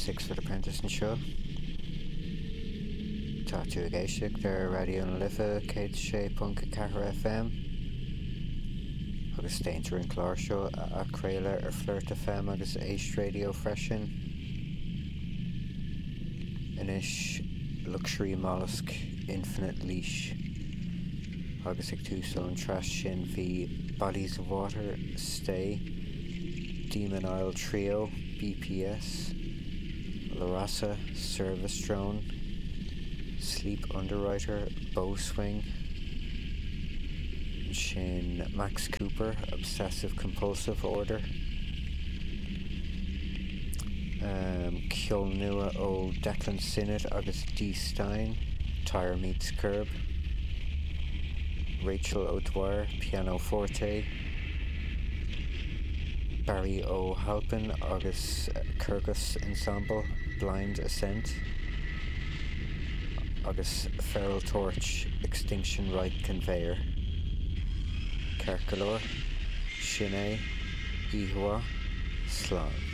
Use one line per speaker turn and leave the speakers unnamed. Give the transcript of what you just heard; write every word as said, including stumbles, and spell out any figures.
Six Foot Apprentice anseo. Tá tú ag éisteacht ar Raidió na Life céad sé ponc a ceathair FM agus déantar an clár seo a athchraoladh ar Flirt FM agus Éist Radio freisin. Anois Luxury Mollusk Infinite Leash agus ag tús an tsraith sin bhí Bodies of Water, Stay, Demon Isle Trio, BPS, Larasa, Service Drone, Sleep Underwriter, Bow Swing, sin Max Cooper, Obsessive Compulsive Order, um, ceol nua ó Declan Sinnott agus Dee Stein, Tire Meets Curb, Rachel O'Dwyer, Piano Forte, Barry O'Halpin agus Kurgus Ensemble, Blind Ascent, agus Feral Torch, Extinction Right Conveyor. Ceart go leor, sin é, oíche mhaith, slán.